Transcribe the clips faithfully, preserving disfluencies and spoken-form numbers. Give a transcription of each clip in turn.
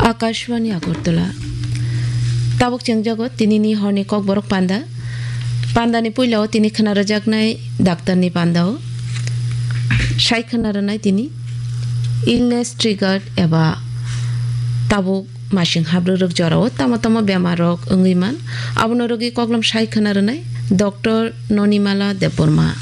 Akashvani Agartala. Tabuk chengjago tinini horni kokborok panda. Pandani puilao tini khna rwjaknai daktarni pandao. Sai khna rwnai tini illness triggered eba tabuk masing habrwrwk jorao tamo tamo bemarrok wngwi man. Abono rwgwi koklom sai khna rwnai Doctor Nonimala Debbarma.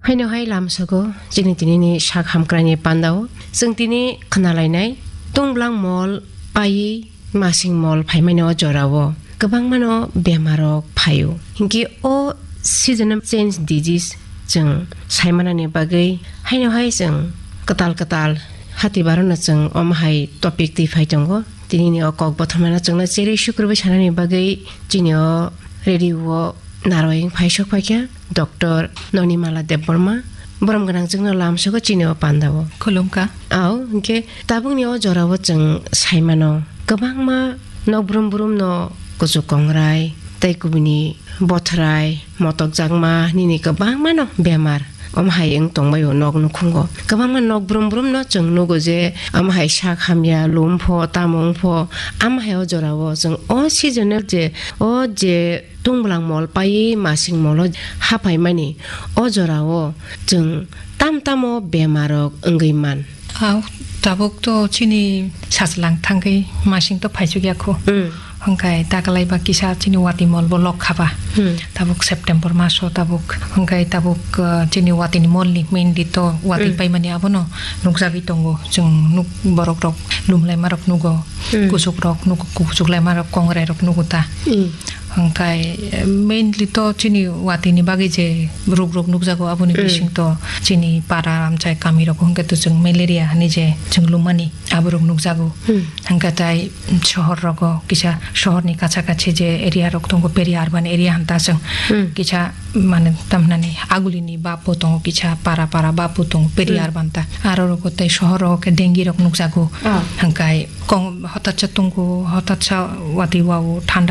Haino hai lamsogo chini tinini sak hamkraini pandao chwng tini khna lainai, tungbulang mol paiwi masing mol phaimani o jorao kwbangmano bemarrok phaio. Hinkhe o seasonal change disease chwng saimanani bagwi haino hai chwng kwtal kwtal hati barano chwng omo hai topic twi phai tongo. Tinini o kok bothomano chwngno cherwi sukrubwi sanani bagwi chini o radio o narwai wng phai sok phaikha Doctor Nonimala Debbarma. Borom gwnang chwngno lamsogo chini o pandao. Khulumkha. Ao, hinkhe tabukni o jorao chwng saimano kwbangma nok brum brumno kuchuk kongrai tei kubuni bothrai, motokjakma, nini kwbangmano bemar. Omo hai wng tongbaio nok nukhungo. Kwbangma nok brum brumno chwng nugo je omo hai sak hamya, lum pho, tamo wng pho, amo hai o jorao chwng o seasonal je, o je tungbulang mol paiwi masing molo haphaimani o jorao chwng tam tamo bemarrok wngwi man. Au, tabuk to chini sajlang thangwi masing to phaichuk ya kho. Hmm. Hwnkhe daklai ba kisa chini wati mol bo lok khaba. Hmm. Tabuk September maso tabuk. Hwnkhe tabuk, uh, chini watini mol ni mainly to wati Hmm. paimani abono nukjagwi tongo. Chwng nuk borok rok lumlaima rok nugo. Hmm. Kusuk rok nugo, kusuk laima rok kongrai rok nugo ta. Hmm. Hwnkhe, eh, mainly to chini watini bagwi je ruk rok nukjago aboni Hmm. bising to chini para amchai kami rok hwnkhe to chwng malaria hinwi je chwng lumani. Aborok nukjago. Hmm. Hwnkhe tai sohor rogo kisa sohorni kacha kachi je area rok tongo, peri urban area hwn ta chwng Hmm. kisa mane tamnani agulini bap bo tongo, kisa para para bap bo tongo, peri Hmm. urban ta. Aro rogo tei sohor rogo khe dengue rok nukjago. Ah. Hwnkhe kong hotatsa tongo, hotatsa wati wao thanda